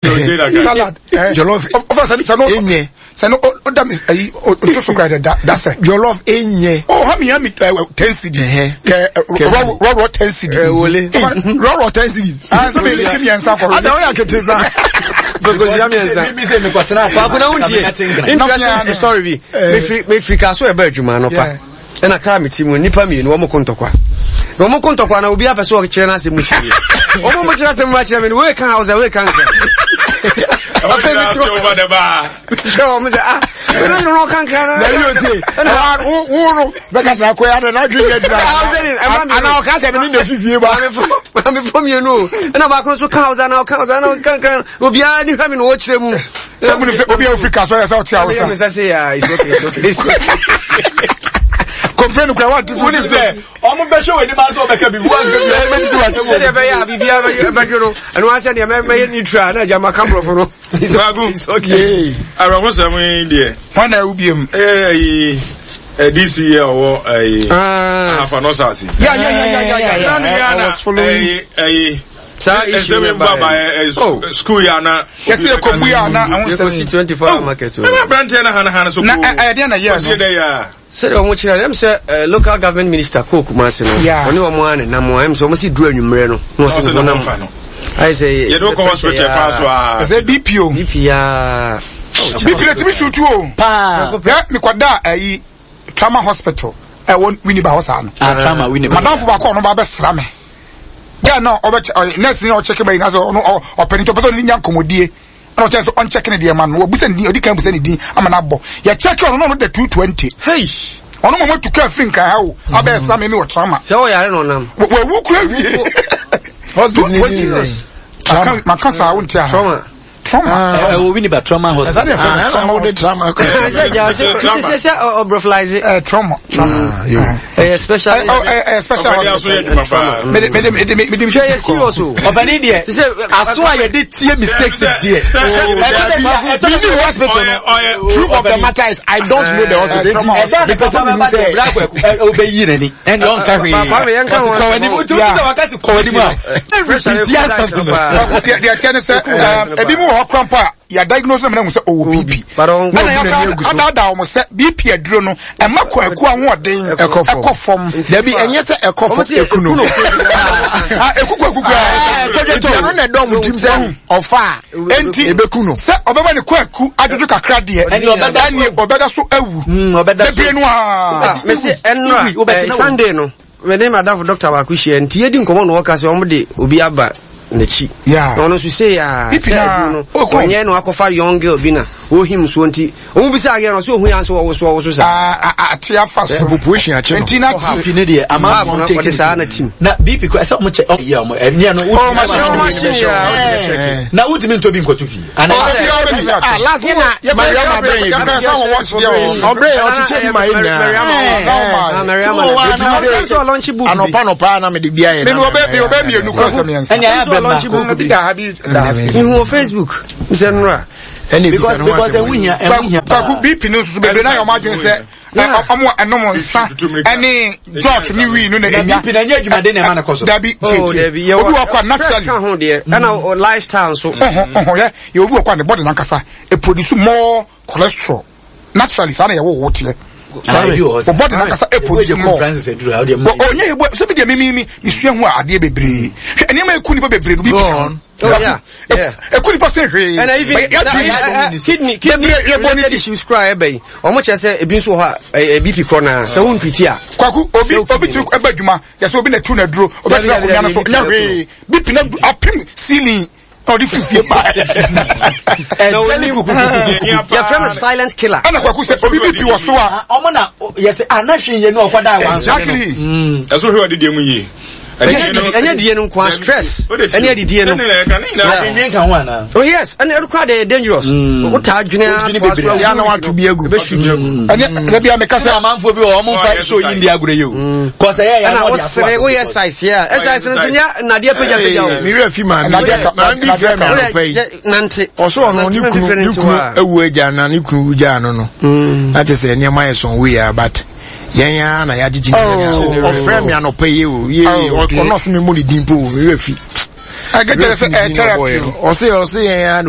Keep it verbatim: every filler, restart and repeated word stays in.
Salad. Jollof. Ɔfa sɛ sɛ no Enye. sɛ no o da mi ayi o to so kura da da sɛ. Jollof enye. Oh, ha mi ha mi ɛ ten cedi. Ɛhɛ. Kɛ rɔ rɔ rɔ ten cedi. Eh, wole. Rɔrɔ ten cedis. Ah, sɛ mi mi mmiɛnsa kɔ. Ada oyɛ akete sa. Kokosia mmiɛnsa. Mi sɛ mekɔtena Baako na wontie. Interesting story bi. Mefiri mefiri kaa so ɛba adwuma no pa. Yeah. Ɛna kaa me ti mu nnipa mmienu wɔn ko ntɔkwa. Na wɔn ko ntɔkwa na obi apɛ sɛ ɔkyerɛ n'asɛm mu kyerɛ me. Wɔn mo kyerɛ asɛm mu akyerɛ me no wei ka Hausa, wei ka Nkran. Afei mi ti hɔ hwɛ wɔn sɛ, ah, ɛna nyina ɔka Nkran na. Na yi o tie. Ɛwɔ wo wo no bɛka sɛ akɔya dɛ n'adwi yɛ dira. Hausa ni ɛma mi. Ana ɔka sɛ mi ni na fifie ba. Maamefo mmienu o. Ɛna baako nso ka Hausa na ɔka Hausa na ɔka Nkran. Obiara ni hwɛ mi na ɔkyerɛ mu. Sɛ mo ni fɛ obi a ofiri kaso yɛ sɛ ɔte Ɛna Hausa. mi sɛ sɛ yeah, it's okay, it's okay, it's okay. Complain kura wa tutu. Wone sɛ ɔmo bɛhwɛ w'anim asɛ ɔbɛka biribi wanka bi ɔbɛdidi w'asɛm wɔ Sɛdeɛ ɛbɛyɛ a biribiara bɛyɛ- bɛdwo no, ɛno ara sɛdeɛ mɛ- mɛyɛ neutral na agya maka borɔfo no. Baako. It's okay. Awerɛhosɛm yi deɛ Wɔn na ɛwu biem. ɛyɛ ɛyi ɛ D C yɛ ɔwɔ ɛyi Ah. Ahafa North South. Ya ya ya ya ya ya. Nanu yɛ I ana was following. ɛyi ɛyi Saa issue ɛsɛm no yi ba ba baeɛ. ɛ Oh. ɛ school yɛ ana. Yɛsɛ yɛ kɔ a na ɛho Yɛkɔsi nsɛm. twenty-four hour market o. Ɛna aberanteɛ na hana hana so. Na ɛ ɛyɛ deɛ na yɛ Ɔsi no. dɛ yɛ a. Sɛdeɛ ɔmo kyerɛ no, ɛm sɛ eh, local government minister kɔɔ Kumase no, Yeah. ɔne ɔmo a ne nam a, ɛm sɛ ɔmo si duru anwummerɛ no na ɔse Ɔse ne ne ho honam fa no. ayɛ sɛ Yɛde wokɔ hospital kwan so a. Ɛsɛ B P o. B P a. B P na timi sutu o. Paa. Yɛ mikɔda ɛyi trauma hospital ɛwɔ Winneba hɔ saa no. Ah, trauma Winneba. Madamfo baako a ɔno ba bɛsra me. Girl na ɔbɛkyɛ ɔyɛ nurse ni ɔkyɛkɛ bɛyi na sɛ ɔno ɔ ɔpɛ ne nti ɔpɛ sɛ ɔne ne nya nkɔmɔdie, ɛna ɔkyɛ sɛ ɔnkyɛkɛ ne deɛ ma no. Wɔbusa ne din, ɔdi kan busa ne din ama no abɔ. Yɛkyɛkɛ ɔno na ɔno da two twenty. Hey. Ɔno mo mo tu kaa firi Nkran ha o abɛɛ sra me mi wɔ trauma. Sɛ ɔyare na ɔnam. Wɔwu kura wie. Hospital ni Two twenty. ni sɛ. Maka maka saa wo nti aha. Trauma. Trauma. Ɛwɔ Winneba trauma hospital. Ɛsɛ deɛ Ah, ɛna wo de trauma kɔ. Sɛ gya sɛ sɛ sɛ ɔbrɔflize. Ɛɛ trauma trauma. Yo. Ɛyɛ special. Ɛ ɔ ɛ ɛ special Ɔbɛde aso yɛ adwuma paa. Mede mede mede mede Hwɛ, yɛ serious o. Ɔbɛne deɛ, Sɛ aso a yɛde tie mistakes deɛ. Mini hospital no. Ɔyɛ Truth of the matter is, I don't know the hospital. trauma. Nti mepɛ sɛ mehu sɛ ɔbɛyi n'ani ɛne ɔnka hwee. Kwame, yɛnka ho Ɔse, kɔ w'anim. asɛm o. Wotu sɛ waka se kɔ w'anim a, Pressure ɛrepeat yɛ asɛm no. paa. Deɛ deɛ tiɛ ne sɛ ɛɛ ebi mu wɔ hɔ kora mpo a yɛ diagnose na mu sɛ ɔwɔ B P. But ɔn- Ɛna yɛsa adaadaa wɔn sɛ B P aduro no ɛma kwaku ahoɔden Ɛkɔ fam. ɛkɔ fam. Dabi, ɛnyɛ sɛ ɛkɔ Ɔmo fam, se eku no. Ah, eku kwaku koraa. Nti ɛno na ɛdɔm tirim sɛ ɔfa a Enti ebeku no. Sɛ ɔbɛma ne kwaku adwodwo kakra deɛ, Ɛne ɔbɛda so ɛne ɔbɛda so awu. Mm, ɔbɛda so. Bebree no a. Mese ɛnora Wobɛtena wo. eh, Sunday no mene madamfo doctor baako hyia nti yɛdi nkɔmmɔ na wɔka sɛ ɔmo de obi aba n'akyi Yeah. na ɔno nso sei a B P sɛ na- aduru no oh, kɔ. ɔnyɛ na wakɔfa young girl bi na ɔhim soɔ, nti ɔmo bisa agɛ no ɔsɛ ɔhu yɛ sɛ wɔwo so wɔwo so saa. Ah, ah, ate afa so. Population akyi no. Nti na te. B P ne deɛ, Half amanfoɔ no, take ɔde it. saa na team. Na B P kɔ ɛsɛ ɔmo kyɛ ɔmo yɛ ɔmo ɛnìyɛ no. Oh, machine, Oh, machine, yeah, wode bɛkyɛke. Na wotumi ntɔ bi nkɔto fie ana? Ah, last year na Mariama brɛ yɛ bi. Yɛfrɛ sɛ wɔwɔ kyerɛ wɔ. Ɔbrɛ yɛ ɔkyekyɛ bi ma yɛ nyinaa. Ah, Mariama Ti wɔ na- hɔ a na- Ɔno nso ɔlaunch book bi. Anɔpa nɔpa na mede bi ayɛ. Mene ɔbɛ mi ɔbɛ mmienu kura sɛ mmiɛnsa. Ɛnni ayɛ Nso abɛn ɔlaunch baako. book Bi bi. da ha, bi da ha. Ihu wɔ Facebook sɛ nnora. Ɛna ebisa because ne ho because asɛm. ɛho hia, ɛho hia. Kwaku, B P no nso so bebree na yɛ ɔmo adwene sɛ ɛ, ɔmo a ɛnom nsa ɛne jot ne wii no na Na enya. B P na ɛnyɛ adwumaden na ɛma no kɔ so. Dabi, Oh, tie tie. dabi, yɛwɔ Obi wɔ kɔ a stress naturally. ka ho deɛ, ɛna o- lifestyle nso. Ɔho ɔho yɛ yɛ obi wɔ kɔ a ne body nankasa e produce more cholesterol naturally, saa na yɛ wɔ wɔ teɛ. Ah, ebi wɔ hɔ saa. O body nankasa e produce Ebi wɔ more. Francis aduru a, wode ma- Ɔ- ɔnyɛ ebu sɛ bi deɛ mimi mi misua ho a adeɛ bebree, hwɛ, nneɛma eku nipa bebree no bi Go ka ho. on. Oh, yeah, yeah. Eku nipa sɛ hwee. Ɛna even But yɛ- na- yɛ- eh, eh, kidney kidney Bebree- yɛbɔ ne related di. issues koraa ɛbɛ yi, ɔmo kyerɛ sɛ ebi nso wɔ hɔ a ɛyɛ B P korɔ na sɛ wontwiti a Kwaku, obi Sɛ obi tiri ɛbɛ adwuma yɛsɛ obi na tu na duro obi Dabi, tena dabi, akonnwa no so dabi, nyɛ B P hwee, B P na du apem ceiling na ɔde firi fie ba. Na onim yɛfrɛ no silent killer. Ɛna Kwaku, sɛ obi B P wɔ so a, Ah, ɔmo na yɛsɛ anahwe yɛ no ɔkɔda wa nso. Exactly. Ɛso hwɛ ɔde deɛ mu yie. ɛnyɛ ɛnyɛ die no nko a, stress ɛne adidie no. Adwendwen ka ho ana? Oh yes, ɛne ɛno koraa deɛ yɛ dangerous. Wotaa dwene Wodwene atoa bebree. so. Ya na wato bi agu. Ɛnyɛ dabi a meka sɛ sɛ amanfoɔ bi wɔ ɔmo nfa show yi ndi agorɔ yi o kɔsɛ yɛ yɛ Ɛna wosere woyɛ size yɛ a exercise no nso nyɛ nnadeɛ pagyapagya o. Mewura fi maame maame bi frɛ me anɔpa yi. Wode nante. Ɔso ɔno ne kunu ne kunu awu agya na ne kunu gyaa no no na kyerɛ sɛ nneɛma yɛ sɔn wei a, but yɛn ara na yɛagyegye ne nyinaa. Ɔfrɛ me anɔpa yi o, yee, ɔno ɔsɛ me mmɔ ne din po o, mewura fi. Ɛkɛkyerɛ sɛ ɛyɛ therapy. Ɔse ɔse yɛn a na